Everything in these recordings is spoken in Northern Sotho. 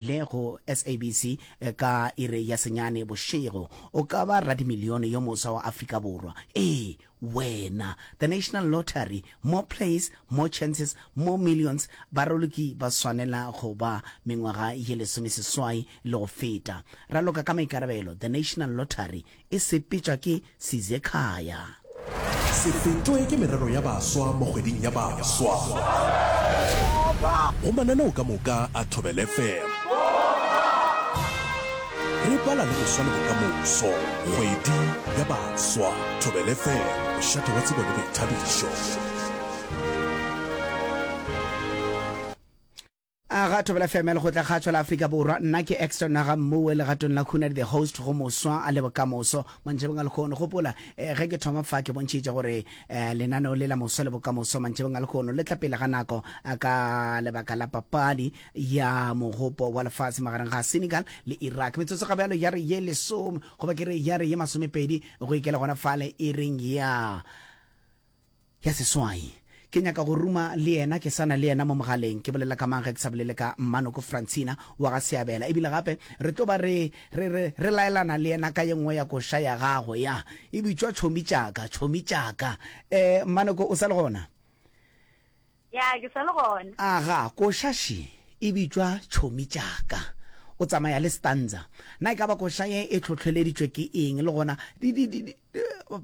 Le go SABC ka iri ya senyane bošego. O ka ba radimilione yo moswa wa Afrika Borwa. Ee, wena! The National Lottery, more plays, more chances, more millions. Baraloki ba swanela go ba mengwaga ye lesomeseswai le go feta. Raloka ka maikarabelo. The National Lottery e sepetšwa ke Sizekhaya. Se fetwe ke merero ya baswa mo kgweding ya baswa. Go mananeo ka moka a Thobela FM. Re bala le boswa le bokamoso. Kgwedi ya baswa. Thobela FM, mošate wa tsebo le boithabišo. A ga Thobela FM ya Lekgotlakgatšo la Afrika Borwa, nna ke Exton Naga Mmuwe legatong la Khunadi the host go moswa a le bokamoso mantšebeng a lekhono. Gopola eh, ge ke thoma fa ke bontšhitše gore eh, lenaneo le la moswa le bokamoso mantšebeng a lekhono le tla pele ga nako eh, ka lebaka la papadi ya mogopo wa lefase magareng ga Senegal le Iraq. Metsotso ga bjalo ya re ye lesome goba ke re ya re ye masomepedi go ikela gona fale e reng ya Ya seswai. Ke nyaka go ruma le yena, ke sa na le yena mo mogaleng. Ke bolela ka mang ge ke sa bolele ka Mmanoko Francina wa ga Seabela. Ebile gape re tlo ba re, re, re, re laelana le yena ka ye nngwe ya koša ya gagwe, ya, e bitšwa Tšhomi tša ka, Tšhomi tša ka. Eh, Mmanoko, o sa le gona? Ya, ke sa le gona. Aga, koša še e bitšwa Tšhomi tša ka. O tsamaya le stanza. Na e ka ba koša ye e hlohleleditšwe ke eng? Le gona, di, di, di, di,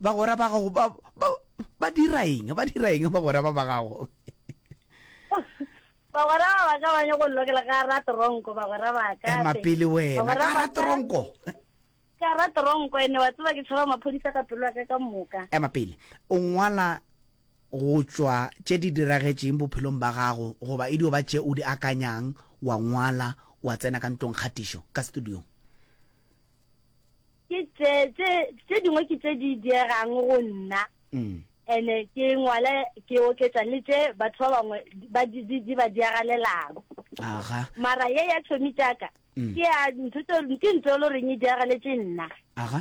bagwera ba gago ba, ba, ba dira eng? Ba dira eng bagwera ba ba gago? Bagwera ba ba ka ba nyako nlokela ka ra tronko, bagwera ba ka. Ema pele wena, ka ra tronko. Ka ra tronko, ene wa tseba ke tshaba maphodisa ka pelo ya ka ka moka. Ema pele, o ngwala go tšwa tše di diragetšeng bophelong ba gago goba e dio ba tše o di akanyang, wa ngwala, wa tsena ka ntlong kgatišo, ka studiong? Ke tše, tše, tše dingwe ke tše di diegang go nna. Mm. Ene ke ngwale ke oketša le tše batho ba bangwe ba di, di, di ba diagalelang. Aga. Mara ye ya tšhomi tšaka, Mm. ke ya ntho tse, ke ntho e le goreng e diagaletše nna. Aga.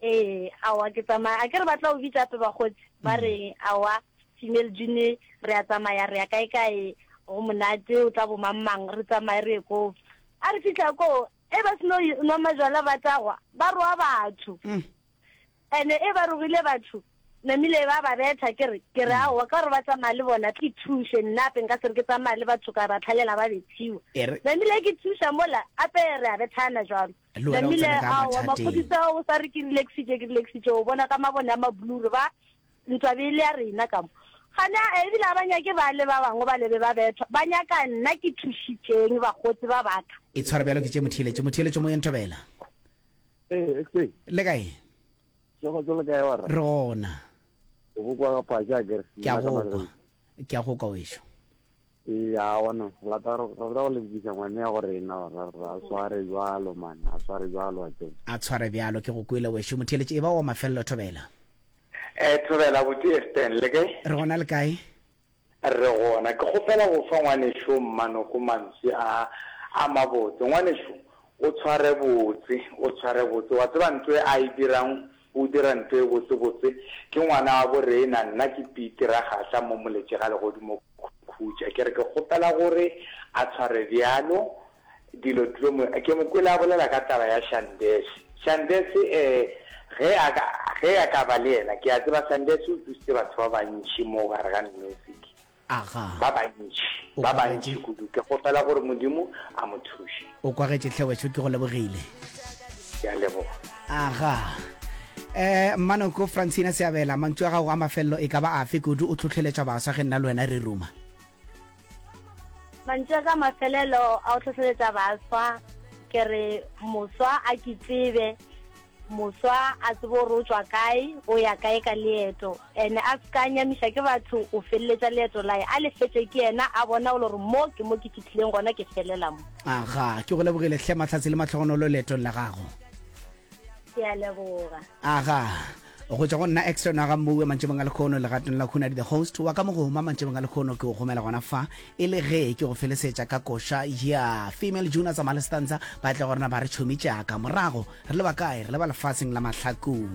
Ee, aowa ke tsamaya, a ke re ba tla o bitša ape bakgotsi, ba Mm. re aowa female june re a tsamaya re ya kae kae, go monate o tla bo mang mang, re tsamaye re ye koo. A re fihla koo, E ba seno nwa majwala ba tagwa, ba roa batho. Mm. Ene e ba rogile batho, namile ba ba betha, ke re, ke re aowa, ka gore ba tsamaya le bona, ke thuše nna ape nka se re ke tsamaya le batho ka ba tlhalela ba bethiwa. E re. Namile ke thuša mola, ape re a bethana jwalo. Le wena o Namile tsene ka aowa, mathateng. maphodisa o sa re ke relaxitše, ke relaxitše, o bona ka mabone a mablue re ba Ntwa be e le ya rena ka mo. Gane a, ebile a ba nyake ba le ba bangwe ba le be ba bethwa. Ba nyaka nna ke thušitšeng bakgotsi ba ba ka. E tshwara bjalo ke tše motheeletši. Motheeletši moyeng Thobela. Ee, XA. Le kae? Tšego le kae warra? Re gona. O go kwa ga phatša akere? Ke a go kwa. Ke a go kwa wešo. Ee, aowa no, re lata re rata go lebogiša ngwane ya go rena ra ra sware bjalo man, a sware bjalo a tseba. A tshware bjalo, ke go kwele wešo. Motheeletši e ba wa mafelelo Thobela. Eh, Thobela abuti Eston, le kae? Re gona le kae? Re gona. Ke kgopela go fa ngwanešo Mmanoko mantswe a a mabotse. Ngwanešo, o tshware botse, o tshware botse. Wa tseba ntho e a e dirang, o dira ntho e botse-botse. Ke ngwana wa bo rena, nna ke Pete Ragahla mo Moletše ga Legodimo Khutša. Ke re ke kgopela gore a tshware bjalo, Dilo dilo mo, ke mo kwele a bolela ka taba ya Shandese. Shandese, eh, ge a ka, ge a ka ba le yena, ke a tseba Shandese o thusitse batho ba bantši mo gare ga music. Aga. Ba bantši, O ba kwagetše. bantši kudu. Ke kgopela gore Modimo a mo thuše. O kwagetše hle wešo, ke go lebogile. Ke a leboga. Aga. Eh, Mmanoko Francina Seabela, mantšu a gago a mafelelo e ka ba afe kudu o hlohleletša baswa ge nna le wena re ruma? Mantšu a ka mafelelo a go hlohleletša baswa ke re moswa a ke tsebe, moswa a tsebe gore o tšwa kae, o ya kae ka leeto, ene a se ka nyamiša ke batho o feleletša leeto lae, a le fetše ke yena a bona gore mo ke mo ke fihlileng gona ke felela mo. Aga, ke go lebogile hle Mahlatse le mahlogonolo leetong la gago. Ke a leboga. Aga, go tšwa go nna Exton wa ga Mmuwe mantšibong a lekhono legatong la Khunadi the host wa ka mogoma mantšibong a lekhono ke go gomela gona fa e le ge ke go felesetša ka koša ya female junior tsa malestanza ba tle go rena ba re tšhomi tšaka morago re leba kae re leba lefaseng la mahlakong.